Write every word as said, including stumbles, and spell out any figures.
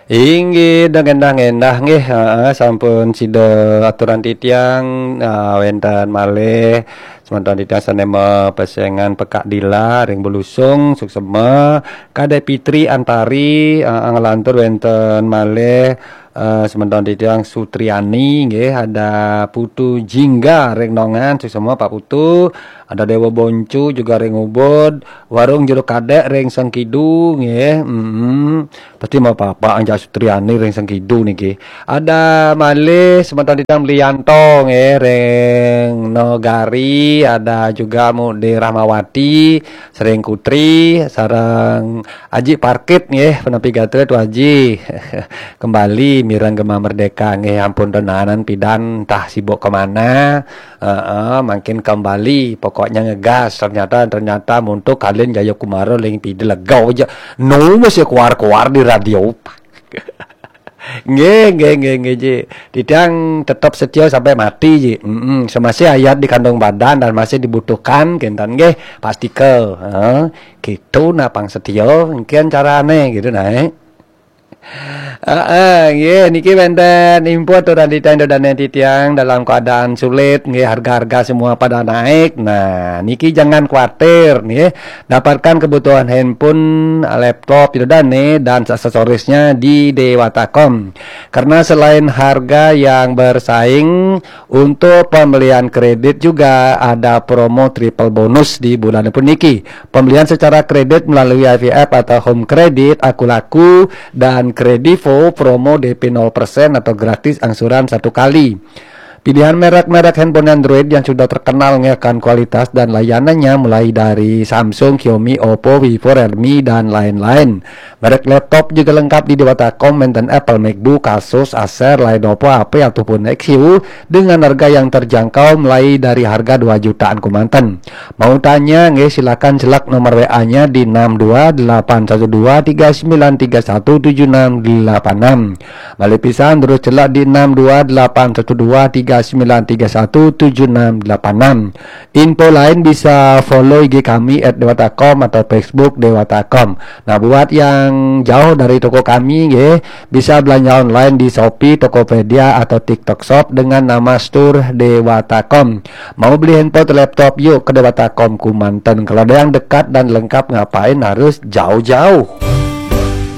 Inggih, dah ngendah-ngendah nggih, heeh, sampun sida aturan titiang, ah, wénten malih semeton titiang sané mapesengan pekak dila ring Belusung, suksema, Kadek Pitri Antari, heeh, nglantur wénten malih, eh, semeton titiang Sutriani nggih, ada Putu Jingga ring Nongan, suksema Pak Putu, ada Dewa Boncu juga ring Ubud, Warung Jero Kadek ring Sengkidu nggih. Mm-mm. Pasti mau apa-apa Anja Sutriani ring Sengkidu niki. Ada malih semeton titiang Lianto nggih ring Nagari, ada juga Mude Rahmawati, Sering Kutri, sareng Aji Parkit nggih, penepi gatra Tu Aji. Kembali mireng Gema Merdeka nggih, ampun tenanan pidan entah sibuk kemana. Heeh, makin kembali, pokoknya ngegas. Ternyata, ternyata muntuk Kalin Jayakumara ling pida lega aja. Nu masih keluar-keluar di radio. Nggih, nggih, nggih, nggih, Ji. Titiang tetap setia sampai mati, Ji. Mm-mm. Semasih ayat di kandung badan dan masih dibutuhkan, kinten nggih, pastika. Heeh. Gitu nah pang setia, engkian carane gitu nah. Eh. Heeh, nggih, niki wénten info aturan titiang, ida dané titiang dalam keadaan sulit, nggih, harga-harga semua pada naik. Nah, niki jangan khawatir, nggih. Dapatkan kebutuhan handphone, laptop, ida dané, dan aksesorisnya di Dewata Com. Karena selain harga yang bersaing, untuk pembelian kredit juga ada promo triple bonus di bulan puniki. Pembelian secara kredit melalui I V F atau Home Credit, Akulaku, dan Kredivo, promo D P nol persen atau gratis angsuran satu kali. Pilihan merek-merek handphone Android yang sudah terkenal akan kualitas dan layanannya, mulai dari Samsung, Xiaomi, Oppo, Vivo, Realme, dan lain-lain. Merek laptop juga lengkap di Dewata Com, wénten Apple MacBook, Asus, Acer, Lenovo, H P ataupun Nexus dengan harga yang terjangkau, mulai dari harga dua jutaan kemanten. Mau tanya nggih, silakan celak nomor W A-nya di enam dua delapan satu dua tiga sembilan tiga satu tujuh enam delapan enam. Malih pisan terus celak di enam dua delapan satu dua tiga sembilan tiga satu tujuh enam delapan enam. Info lain bisa follow I G kami at dewata com atau Facebook Dewata Com. Nah, buat yang jauh dari toko kami, nggih, bisa belanja online di Shopee, Tokopedia, atau TikTok Shop dengan nama Store Dewata Com. Mau beli handphone atau laptop, yuk ke Dewata Com Kumanten. Kalau ada yang dekat dan lengkap, ngapain harus jauh-jauh?